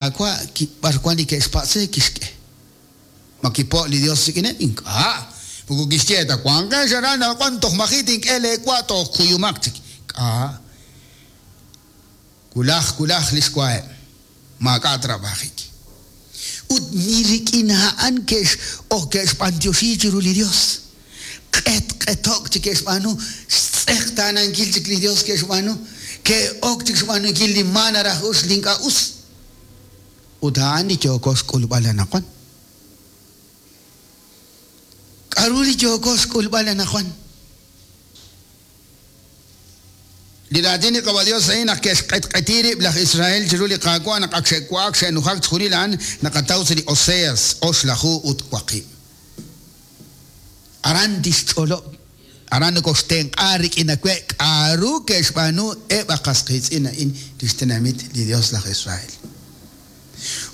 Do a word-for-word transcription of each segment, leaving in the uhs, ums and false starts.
Qaawa' b'ar wank li ke'xpatz' re kixk'e. Ma kipo' li Yos rik'ineb'? Ink'a'. Moko kixye ta wanqex aran anaqwan toj maji' tink'e leewa toj kuyumaq chik. K'a'. Wulaj wulaj li xwaheb'. Maak'a' trab'ajik. Ut ni rik'in a'an ke'x-ok ke'xb'anyoxi chiru li Yos. Q'etq'eto'k chik ke'xb'aanu, xtz'eqtaanankil chik li Yos ke'xb'aanu, ke'ok chik xb'aanunkil li ma naraj us li ink'a' us. Ut a'an li yooko xk'ulb'al anaqwan. K'aru li yooko xk'ulb'al anaqwan? Li raatin li Qaawa' Yos a'in naq ke'xq'etq'eti rib' laj Israel chiru li Qaawa' naq ak xe'wa'ak xe'nujak chixjunil a'an naqataw sa' li Oseas oxlaju ut waqib'. Aran tixch'olob', aran nokoxtenq'a rik'in awe' k'aru ke'xb'aanu eb' a qas qiitz'in a'in li xtenamit li Yos laj Israel.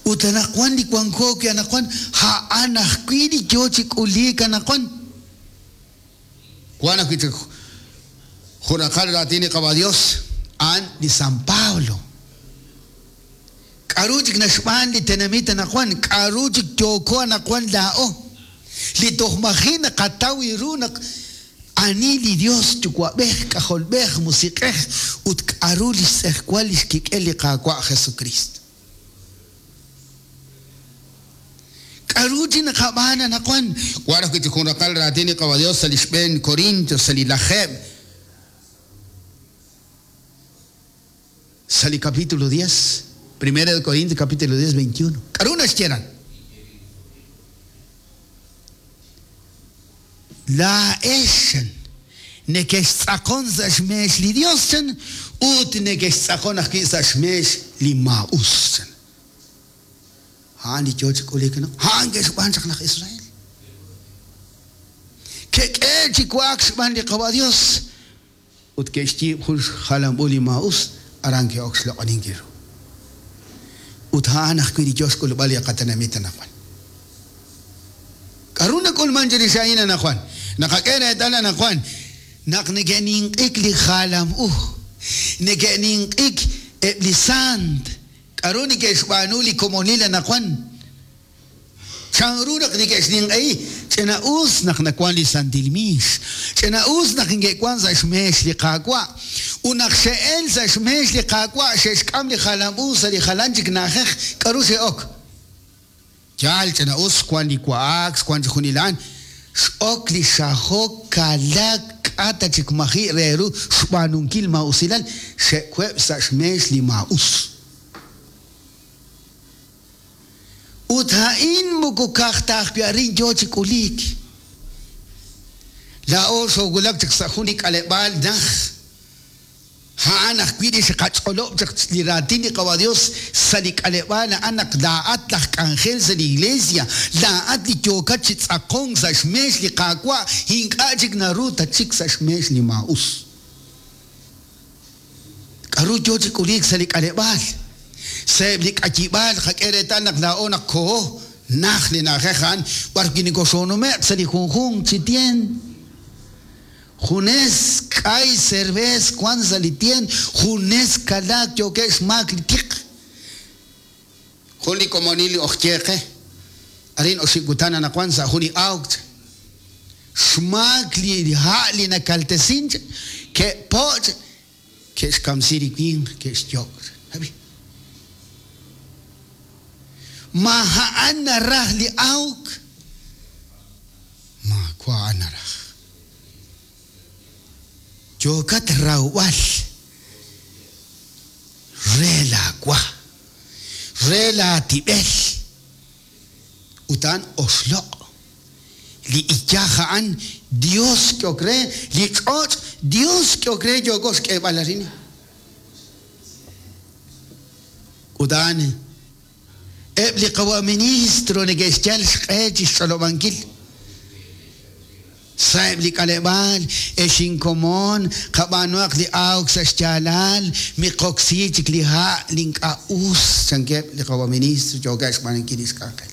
Ut anaqwan li wanko wi' anaqwan a'an ajwi' li yo chi k'uliik anaqwan. Wank ajwi' chik jun raqal raatin li Qaawa' Yos, a'an li San Pablo. K'aru chik naxb'aan li tenamit anaqwan? K'aru chik yooko anaqwan laa'o? Li toj maji' naqataw ru naq ani li Yos Yuwa'b'ej, K'ajolb'ej, Musiq'ej ut k'aru li xtz'ejwal li xkik'el li Qaawa' Jesukriist. K'aru chi naqab'aan anaqwan? Wank ajwi' chik jun raqal raatin li Qaawa' Yos sa' li xb'een Corintios, sa' li lajeeb', sa' li capítulo diez, Primera de Corintios capítulo diez, veintiuno. K'aru naxye aran? Laa'ex nekextz'aqon sa' xmeex li Yos chan ut nekextz'aqon ajwi' sa' xmeex li maa'us chan. A'an li yo chi k'uliik anaqwan. A'an ke'xb'aan chaq laj Israel. Ke'k'ehe'k chi wa'ak xb'aan li Qaawa' Yos ut ke'xyiib' jun xjalam u li maa'us, aran ke'ok xloq'oninkil ru. Ut a'an ajwi' li yo xk'ulb'al li qatenamit anaqwan. K'aru nak'ulmank chirix a'in anaqwan? Naqak'e reetal anaqwan naq neke'ninq'ik li jalam u, neke'ninq'ik eb' li saant. K'aru neke'xb'aanu li komonil anaqwan? Chanru naq neke'xninq'ehi? Ch'ina'us naq nawank li santil miix. Ch'ina'us naq neke'wank sa' xmeex li Qaawa'. Ut naq xe'elk sa' xmeex li Qaawa' xe'xk'am li jalam u sa' li jalan chik na'ajej. K'aru xe'ok? Yaal, ch'ina'us xwank li wa'ak, xwank chixjunil a'an. X'ok li xajok, kalaak, k'a' ta chik maji' re ru xb'aanunkil maa'usilal, xe'web' sa' xmeex li maa'us. Ut a'in moko ka'aj ta ajwi' arin yo chi k'uliik. Laa'o xoowulak chaq sa' jun li k'aleb'aal najt. A'an ajwi' li xqach'olob' chaq li raatin li Qawa' Dios sa' li k'aleb'aal a'an naq laa'at laj k'anjel sa' li Iglesia, laa'at li yookat chi tz'aqonk sa' xmeex li Qaawa', ink'a' chik naru tatxik sa' xmeex li maa'us. K'aru yoo chi k'uliik sa' li k'aleb'aal? Sa'eb' li k'ayib'aal qak'e reetal naq laa'o naq koho najt li na'ajej a'an b'ar wi' nokoxoonume'q sa' li junjunq chi tien. Junes k'ay servees wank sa' li tien, junes kalaak yookeb' xmaak li tiq. Jun li komonil li ojye qe arin oxib' kutan anaqwan sa' jun li awk xmaak li ha' li nakaltesin ke'po' ke'xkamsi li winq, ke'xyok'. Ab'i. Ma a'an naraj li awk? Maawa' a'an naraj. Yookat rawb'al re laawa, re laatib'el, ut a'an oxloq'. Li iyaj a'an Dios k'ehok re, li ch'och' Dios k'ehok re yooko xk'eeb'al arin. Ut a'an eb' li qawa' ministro neke'xyal xq'e chi xch'olob'ankil sa'eb' li k'aleb'aal, ex inkomon, qab'aanuhaq li awk sa' xyaalal, miqoksi chik li ha' li ink'a' us, chankeb' li qawa' ministro yookeb' xb'aanunkil li xk'anjel.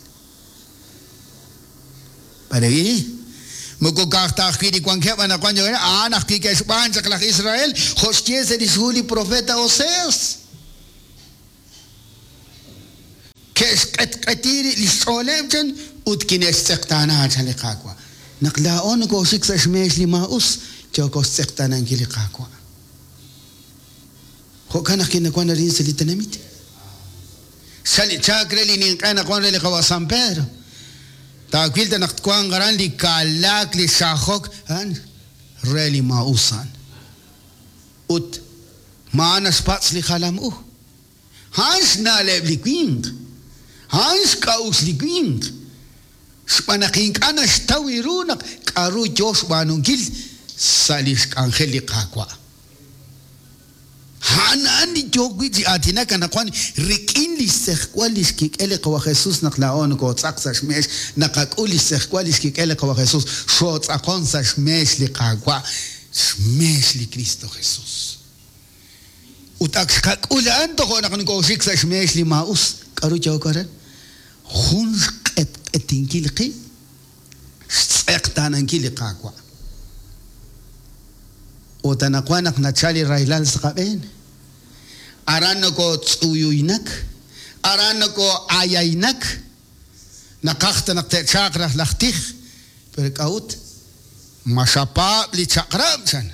B'arwi'? Moko ka'aj ta ajwi' li wankeb' anaqwan yookeb', a'an ajwi' ke'xb'aan chaq laj Israel, jo' xye sa' li xhu li profeta Oseas. Xe'xq'etq'eti li xch'ooleb' chan ut kine'xtz'eqtaana chan li Qaawa'. Naq laa'o nokooxik sa' xmeex li maa'us, yooko xtz'eqtaanankil li Qaawa'. Jo'kan naq kinawan arin sa' li tenamit. Xali chaak re li ninq'e naq wan re li qawa' San Pedro. Taawil ta naq twanq aran li kalaak li xajok a'an re li maa'us a'an. Ut ma'an naxpatz' li jalam u. A'an xna'leb' li winq. A'an xk'a'uxl li winq. Xb'aan naq ink'a' naxtaw ru naq k'aru yo xb'aanunkil sa' li xk'anjel li Qaawa'. A'an a'an li yo wi' chi aatinak anaqwan rik'in li xtz'ejwal li xkik'el li Qawa' Jesus naq laa'o nokootz'aq sa' xmeex, naqak'ul li xtz'ejwal li xkik'el li Qawa' Jesus, xootz'aqon sa' xmeex li Qaawa', xmeex li Cristo Jesus. Ut ak xqak'ul a'an tojo' naq nokooxik sa' xmeex li maa'us. K'aru yooko aran? Jun xq'etq'etinkil qib', xtz'eqtaanankil li Qaawa'. Ut anaqwan naq nachal li rahilal sa' qab'een, aran nokootz'uyuynak, aran nokoo'ayaynak, naqaj ta naq te'chaaq raj laj tij, pero k'a'ut? Ma xapaab' li chaq'rab' chan.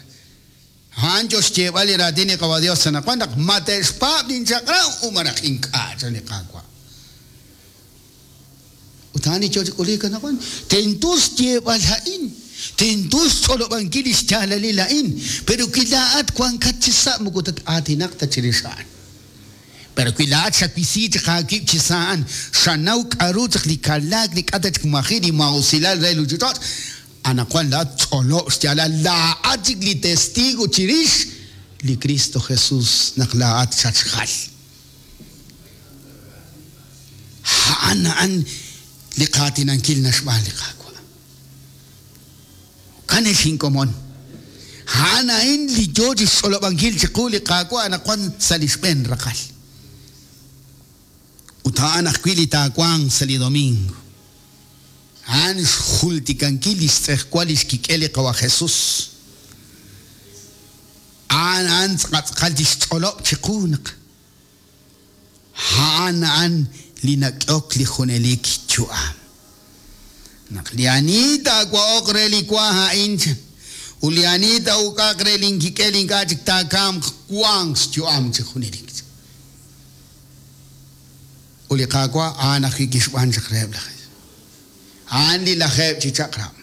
A'an yo xyeeb'al li raatin li Qawa' Dios anaqwan naq ma te'xpaab' linchaq'rab' u malaj ink'a' chan li Qaawa'. Ut a'an li yo chi k'uliik anaqwan. Tento xyeeb'al a'in. Tento xch'olob'ankil li xyaalalil a'in. Pero wi laa'at wankat chi sa' moko tat-aatinaq ta chirix a'an. Pero wi laa'at xawisi chaq aawib' chi sa' a'an, xanaw k'aru chaq li kalaak li k'a ta chik maji' li maa'usilal re li ruuchich'och', anaqwan laa'at ch'olob' xyaalal laa'at chik li testigo chirix li Cristo Jesus naq laa'at xatxjal. A'an a'an li qaatinankil naxb'aan li Qaawa'. Jo'kan ex inkomon. A'an a'in li yo chi xch'olob'ankil chiqu li Qaawa' anaqwan sa' li xb'een raqal. Ut a'an ajwi' li taawanq sa' li domingo. A'an xjultikankil li xtz'ejwal li xkik'el li Qawa' Jesus. A'an a'an tz'aqatz'aqal chi xch'olob' chiqu naq a'an a'an li nak'ok li junelik yu'am. Naq li ani taawa'oq re li wa a'in ut li ani taa'uk'aq re linkik'el ink'a' chik taakamq wanq xyu'am chi junelik. Ut li Qaawa' a'an ajwi' kixb'aan chaq reheb' laj A'an li lajeeb' chi chaq'rab'.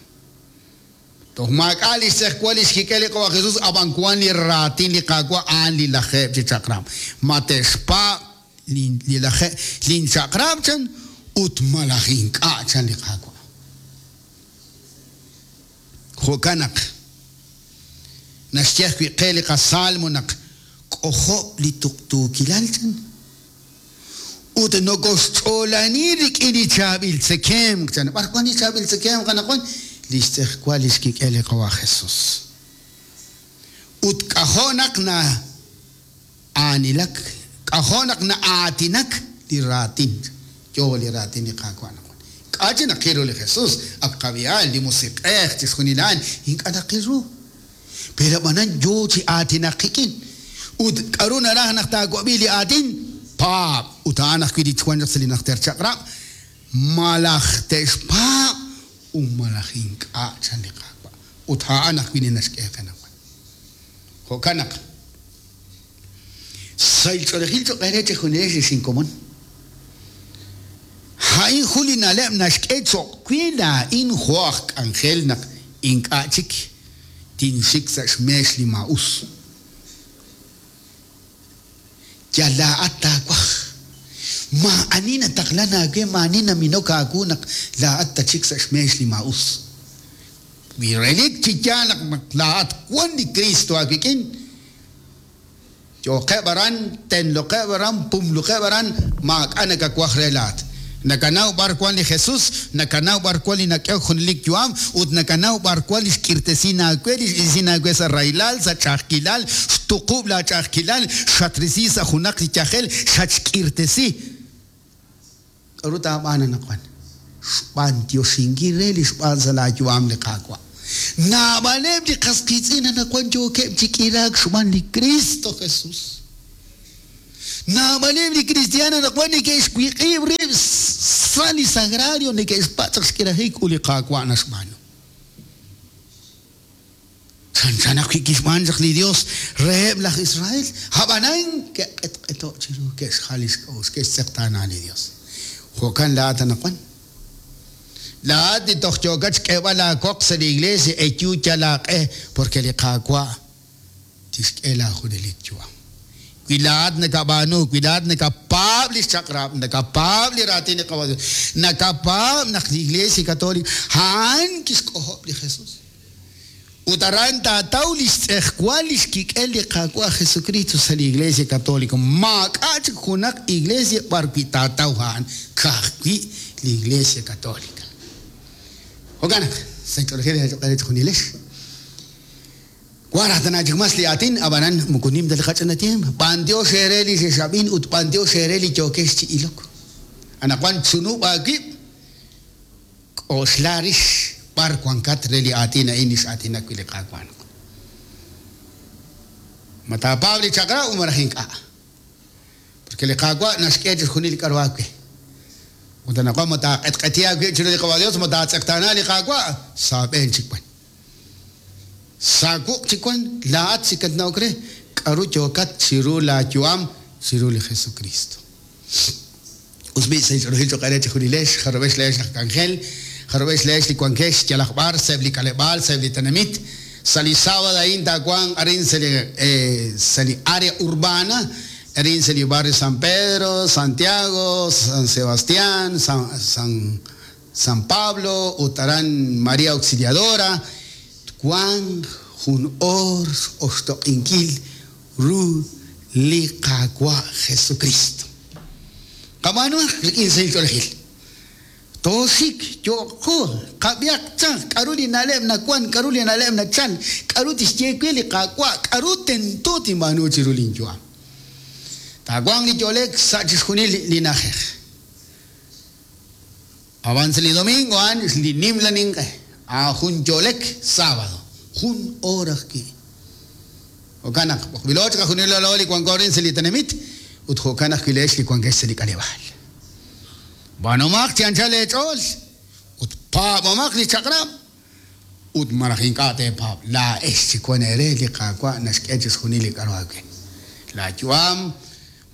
Toj maak'a' li xtz'ejwal li xkik'el li Qawa' Jesus ab'an wan li raatin li Qaawa' a'an li lajeeb' chi chaq'rab'. Ma te'xpaab' li laje' linchaq'rab' chan ut malaj ink'a' chan li Qaawa'. Jo'kan naq naxye ajwi' qe li qasalmo naq k'ojob' li tuqtuukilal chan ut nokoxch'oolani rik'in li chaab'il tzekemq chan. B'ar wan li chaab'il tzekemq anaqwan? Li xtz'ejwal li xkik'el li Qawa' Jesus. Ut k'ajo' naq na'aanilak, k'ajo' naq na'aatinak li raatin. Yo li raatin li Qaawa' anaqwan. K'a' chi naqil ru li Jesus, ak qab'i'al, li musiq'ej, chixjunil a'an, ink'a' naqil ru. Pero ab'anan yo chi aatinak qik'in. Ut k'aru naraj naq taawab'i li aatin? Paab'. Ut a'an ajwi' li wan chaq sa' li najter chaq'rab', malaj te'xpaab' u malaj ink'a' chan li Qaawa'. Ut a'an ajwi' li naxk'e qe anaqwan. Jo'kan naq sahil ch'oolejil cho'q eere chejunilex li xinkomon. A'in jun li na'leb' naxk'e cho'q we laa'in jo' aj k'anjel naq ink'a' chik tinxik sa' xmeex li maa'us. Yal laa'at taawaj. Maa'ani nataqlan aawe, maa'ani naminok aawu naq laa'at tachik sa' xmeex li maa'us. Wi relik chi yaal naq laa'at wan li Cristo aawik'in, yo'qeb' aran, tenloqeb' aran, pumluqeb' aran, maak'a' nakawaj re laa'at. Nakanaw b'ar wan li Jesus, nakanaw b'ar wan li nak'ehok junelik yu'am, ut nakanaw b'ar wan li xk'irtesin aawe, li x'isin aawe sa' rahilal, sa' ch'a'ajkilal, xtuqub' la ch'a'ajkilal, xatrisi sa' junaq li yajel, xatxk'irtesi. K'aru taab'aan anaqwan? Xb'antioxinkil re li xb'aan sa' laayu'am li Qaawa'. Naab'aleb' li qas qiitz'in anaqwan yookeb' chi k'iraak xb'aan li Cristo Jesus. Naab'aleb' li kristiaan anaqwan neke'xwiq'ib' rib' Sa' li sagrario neke'xpatz' xk'irajik ut li Qaawa' naxb'aanu. Chanchan ajwi' kixb'aan chaq li Dios reheb' laj Israel, ab'anan ke'q'etq'eto' chiru, ke'xjal li xk'a'uxl, ke'xtz'eqtaana li Dios. Jo'kan laa'at anaqwan. Laa'at li toj yookat xk'eeb'al laawoq sa' li iglesia eyu yal aaq'e, porque li Qaawa' tixk'e laajunelik yu'am. Wi laa'at nakab'aanu, wi laa'at nakapaab' li xchaq'rab', nakapaab' li raatin li Qaawa' Dios, nakapaab' naq li Iglesia Católica a'an kixk'ojob' li Jesus. Ut aran taataw li xtz'ejwal li xkik'el li Qaawa' Jesucristo sa' li Iglesia Católica. Maak'a' chik junaq iglesia b'ar wi' taataw a'an, ka'ajwi' li Iglesia Católica. Jo'kan naq sa' ch'oolejil chixjunilex. Waraj tana chik mas li aatin, ab'anan moko nim ta li qach'ina tiempo. B'antiox eere li xexab'in ut b'antiox eere li yookex chi ilok. Anaqwan chunub' aawib', k'oxla rix b'ar wankat re li aatin a'in li x'aatinak wi' li Qaawa'. Ma taapaab' li chaq'rab' u malaj ink'a'. Porque li Qaawa' naxk'e chixjunil li k'aru aawe. Ut anaqwan ma taaq'etq'eti aawib' chiru li Qaawa' Dios, ma taatz'eqtaana li Qaawa', sa' aab'een chik wan. Sa' wuq' chik wan, laa'at chik katna'ok re, k'aru yookat chiru laayu'am chiru li Jesucristo. Us b'i' sa' ch'oolejil cho'q eere chixjunilex, jarub'ex leex laj k'anjel, jarub'ex leex li wankex yalaq b'ar, sa'eb' li k'aleb'aal, sa'eb' li tenamit. Sa' li sábado a'in taawanq arin sa' li sa' li área urbana, arin sa' li barrio San Pedro, Santiago, San Sebastián, San, San, San Pablo, ut aran María Auxiliadora, twanq jun oor oxtoq'inkil ru li Qaawa' Jesucristo. Qab'aanuhaq rik'in sahil ch'oolejil. Tooxik yo'qo, qab'ihaq chaq, k'aru li na'leb' nawan, k'aru li na'leb' nachal, k'aru tixye we li Qaawa', k'aru tento tinb'aanu chiru linyu'am. Taawanq li yo'lek sa' chixjunil li na'ajej. Ab'an sa' li domingo a'an li nimla ninq'e, a jun yo'lek sábado, jun hora ajwi'. Jo'kan naq b'oqb'ilo chik ajunil lo li wanko arin sa' li tenamit ut jo'kan ajwi' leex li wankex sa' li k'aleb'aal. B'aanumaq chi anchal eech'ool ut paab'omaq li chaq'rab' ut malaj ink'a' teepaab'. Laa'ex chik wan eere li Qaawa' naxk'e chixjunil li k'aru aawe. Laayu'am,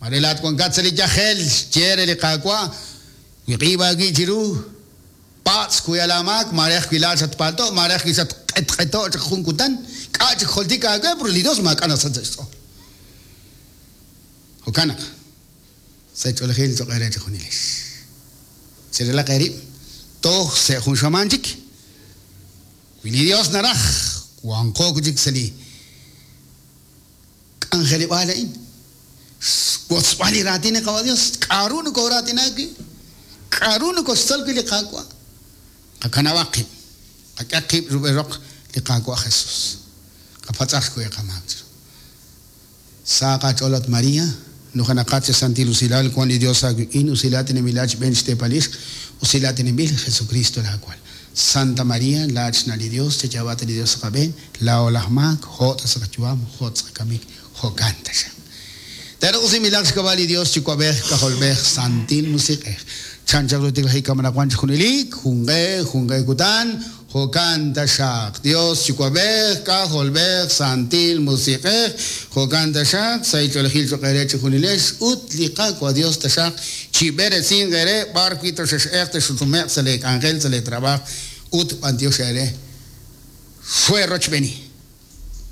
mare laa'at wankat sa' li yajel, xye re li Qaawa', wiq'iib' aawi' chiru, patz' kuyal aamaak, mare ajwi' laa'at xatpaalto', mare ajwi' xatq'etq'eto' chaq jun kutan, k'a' chik joltik aawe, pero li Dios maak'a' nasach sa' xch'ool. Jo'kan naq sa' ch'oolejil cho'q eere chixjunilex. Cherelaq eerib', toj sa' jun xamaan chik. Wi li Dios naraj, wanqo chik sa' li k'anjeleb'aal a'in. Xwotzb'al li raatin li Qaawa' Dios, k'aru nokooraatina wi', k'aru nokoxtzol wi' li Qaawa'. Qakanab'aq qib', qak'e qib' rub'el roq li Qaawa' Jesus. Qapatz'aq wi' qamaak chiru. Sa qach'ool at María, nujenaqat chi santil usilal wan li Dios aawik'in, usilal tinamilal xb'een xteepal ixq, usilal tinamil Jesucristo laawal. Santa María, laa'at xna' li Dios, chayaab'at li Dios sa' qab'een, laa'o laj maak, jo' ta sa' qayu'am, jo' ta sa' qakamik, jo'kan taxaq. Teruq usimilaq xk'ab'a' li Dios Yuwa'b'ej, K'ajolb'ej, Santil Musiq'ej. Chanchaq ru tiklajik kamanaqwan chixjunilik, junq'e, junq'e kutan, jo'kan taxaq. Dios Yuwa'b'ej, K'ajolb'ej, Santil Musiq'ej, jo'kan taxaq, sahil ch'oolejil cho'q eere chixjunilex, ut li Qaawa' Dios taxaq chib'eresinq eere b'ar wi' toxex'eq texutume'q sa' lee k'anjel, sa' lee trabajo, ut b'antiox eere. Xwe rochb'eni.